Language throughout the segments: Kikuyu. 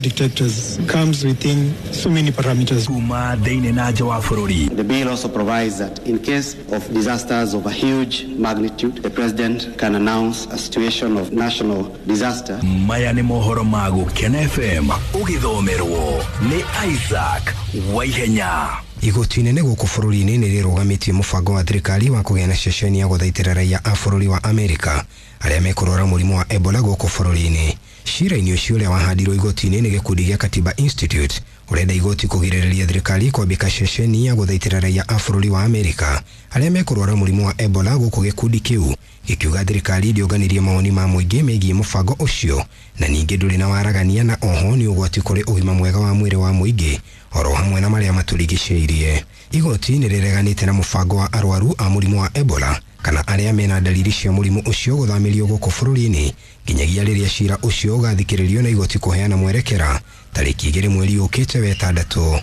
Detectors comes within so many parameters. Kuma thĩinĩ na nja wa bũrũri. The bill also provides that in case of disasters of a huge magnitude, the president can announce a situation of national disaster. Maya nĩ mohoro ma Gũkena FM ũgĩthomerwo nĩ Isaac Waihenya. Igoti inene gũkũ bũrũri-inĩ nĩ rĩrũgamĩtie mũbango wa thirikari wa kũgĩa na ceceni ya gũthaitĩra raia a bũrũri wa Amerika arĩa mekũrwara mũrimũ wa Ebola gũkũ bũrũri-inĩ. Cira-inĩ ũcio ũrĩa wahandirwo igoti-inĩ nĩ gĩkundi gĩa Katiba Institute ũrenda igoti kũgirĩrĩria thirikari kwambĩka ceceni ya gũthaitĩra raia a bũrũri wa Amerika arĩa mekũrwara mũrimũ wa Ebola gũkũ gĩkundi kĩu gĩkiuga thirikari ndĩonganirie mawoni ma mũingĩ megiĩ mũbango ũcio na ningĩ ndũrĩ na waragania na oho nĩ ũgwati kũrĩ ũgima mwega wa mwĩrĩ wa mũingĩ oro hamwe na marĩa matũrigicĩirie. Igoti nĩ rĩreganĩte na mũbango wa arwaru a mũrimũ wa Ebola kana arĩa mena dalili cia mũrimũ ũcio gũthamĩrio gũkũ bũrũri-inĩ nginyagia rĩrĩa cira ũcio ũgathikĩrĩrio na igoti kũheana mwerekera tarĩki 2 mweri ũkĩte wetandatũ.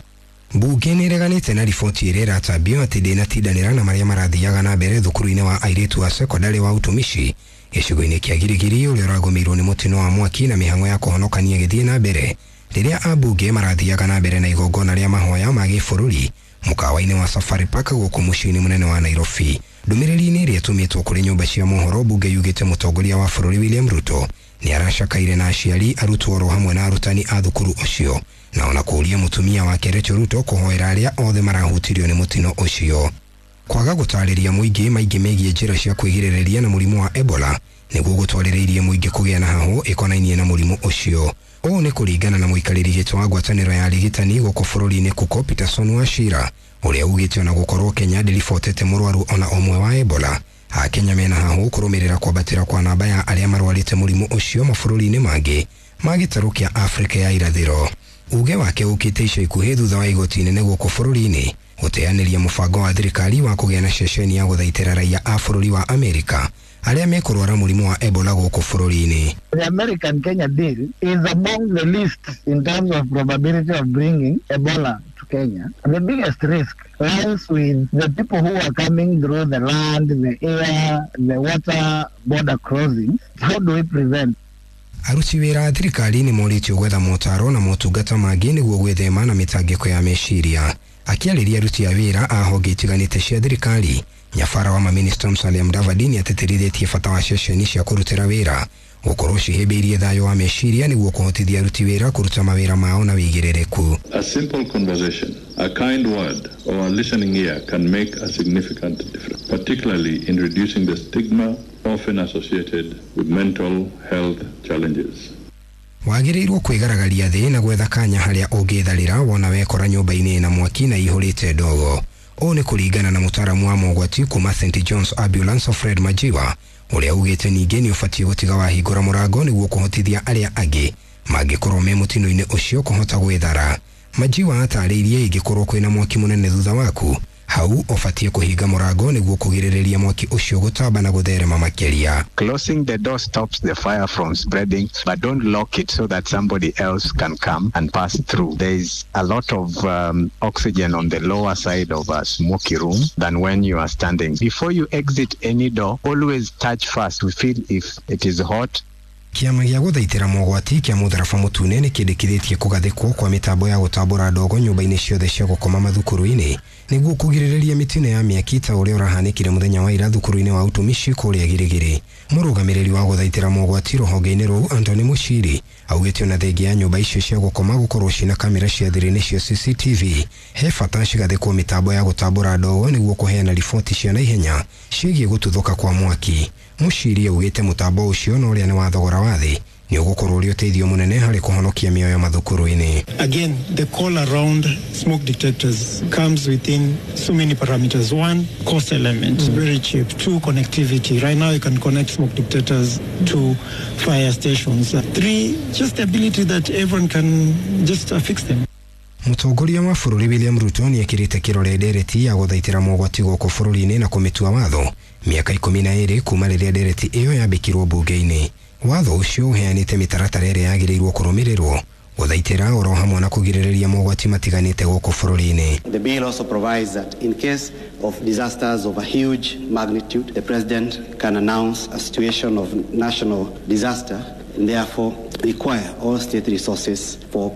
Mbunge nĩ ĩreganĩte na riboti ĩrĩa ĩratambio atĩ ndĩnatindanĩra na marĩa marathiaga na mbere thukuru-inĩ wa airĩtu a sekondarĩ wa utumishi gĩcigo-inĩ kĩa Girigiri ũrĩa ũragũmĩirwo nĩ mũtino wa mwaki na mĩhang'o ya kũhonokania ĩgĩthiĩ na mbere rĩrĩa ambunge marathiaga na mbere na igongona rĩa mahoya ma gĩbũrũri mũkawa-inĩ wa Safari Park gũkũ mũciĩ-inĩ mũnene wa Nairobi. Ndũmĩrĩri-inĩ ĩrĩa ĩtũmĩtwo kũrĩ nyũmba cia mohoro, mbunge yugĩte mũtongoria wa bũrũri William Ruto nĩ aracakaire na aciari, arutwo oro hamwe na arutani a thukuru ũcio na ona kũũria mũtumia wake Rachel Ruto kũhoera arĩa othe marahutirio nĩ mũtino ũcio. Kwaga gũtarĩria mũingĩ maingĩ megiĩ njĩra cia kwĩgirĩrĩria na mũrimũ wa Ebola nĩguo gũtwarĩrĩirie mũingĩ kũgĩa na hahũ ĩkonainie na mũrimũ ũcio. Ũũ nĩ kũringana na mũikarĩri gĩtĩ wa ngwatanĩro ya arigitani gũkũ bũrũri-inĩ Kuko Peterson Wachira ũrĩa ugĩte ona gũkorwo Kenya ndĩribotete mũrwaru ona ũmwe wa Ebola. Akenya mena hahũ kũrũmĩrĩra kwambatĩra kwa namba ya arĩa marwarĩte mũrimũ ũcio mabũrũri-inĩ mangĩ ma gĩtarũ kĩa Afrika ya irathĩro. Uge wake ũkĩte ica ikuhĩ thutha wa igoti inene gũkũ bũrũri-inĩ gũteanĩria mũbango wa thirikari wa kũgĩa na ceceni ya gũthaitĩra raia a bũrũri wa Amerika arĩa mekũrwara mũrimũ wa Ebola gũkũ bũrũri-inĩ. The American Kenya deal is among the least in terms of probability of bringing Ebola to Kenya. The biggest risk lies with the people who are coming through the land, the air, the water border crossings. How do we prevent? Aruti wĩra a thirikari nĩ morĩtio gwetha motaro na motungata mangĩ nĩguo gwĩthema na mĩtangĩko ya meciria. Akĩarĩria aruti a wĩra a honge itiganĩte cia thirikari, nyabara wa maminista Musalia Mudavadi nĩ atĩtĩrithĩtie bata wa ceceni cia kũrutĩra wĩra gũkorwo cihĩmbĩirie thayũ wa meciria nĩguo kũhotithia aruti wĩra kũruta mawĩra mao na wĩigĩrĩrĩku. A simple conversation, a kind word or a listening ear can make a significant difference, particularly in reducing the stigma often associated with mental health challenges. Wagĩrĩirwo kwĩgaragaria thĩ na gwetha kanya harĩa ũngĩtharĩra wona wekora nyũmba-inĩ na mwaki na ihũrĩte ndogo. Ũũ nĩ kũringana na mũtaaramu wa mogwati kuma St John's Ambulance Fred Majiwa ũrĩa ugĩte ningĩ nĩ ũbatiĩ gũtiga wahingũra mũrango nĩguo kũhotithia arĩa angĩ mangĩkorwo me mũtino-inĩ ũcio kũhota gwĩthara. Majiwa atarĩirie ingĩkorwo kwĩna mwaki mũnene thutha waku hau ũbatiĩ kũhinga mũrango nĩguo kũgirĩrĩria mwaki ũcio gũtamba na gũtherema makĩria. Closing the door stops the fire from spreading, but don't lock it so that somebody else can come and pass through. There is a lot of oxygen on the lower side of a smoky room than when you are standing. Before you exit any door, always touch first to feel if it is hot. Kĩama gĩa gũthaitĩra mogwati kĩa mũtharaba mũtune nĩ kĩndĩkithĩtie kũgathĩkwo kwa mĩtambo ya gũtambũra ndogo nyũmba-inĩ ciothe cia gũkoma mathukuru-inĩ nĩguo kũgirĩrĩria mĩtino ya mĩaki ta ũrĩa ũrahanĩkire mũthenya wa ira thukuru-inĩ wa utumishi kũrĩa Girigiri. Mũrũgamĩrĩri wa gũthaitĩra mogwati rũhonge-inĩ rũu Anthony Mushiri augĩte ona thengia ya nyũmba icio cia gũkoma gũkorwo cina kamera cia thiri nĩcio CCTV he bata cigathĩkwo mĩtambo ya gũtambũra ndogo nĩguo kũheana riboti cia naihenya ciĩgiĩ gũtuthũka kwa mwaki. Mushiri augĩte mũtambo ũcio na ũrĩa nĩ wa thogora wa thĩ nĩ ũgũkorwo ũrĩ ũteithio mũnene harĩ kũhonokia mĩoyo mathukuru-inĩ. Again, the call around smoke detectors comes within so many parameters. One, cost element, very cheap. Two, connectivity. Right now you can connect smoke detectors to fire stations. Three, just the ability that everyone can just affix them. Mũtongoria wa bũrũri William Ruto nĩ ekĩrĩte kĩrore ndereti ya gũthaitĩra mogwati gũkũ bũrũri-inĩ na kũmĩtua watho mĩaka 12 kuma rĩrĩa ndereti ĩyo yambĩkirwo mbunge-inĩ. Watho ũcio ũheanĩte mĩtaratara ĩrĩa yagĩrĩirwo kũrũmĩrĩrwo gũthaitĩra oro hamwe na kũgirĩrĩria mogwati matiganĩte gũkũ bũrũri-inĩ. The bill also provides that in case of disasters of a huge magnitude, the president can announce a situation of national disaster. and therefore require all state resources for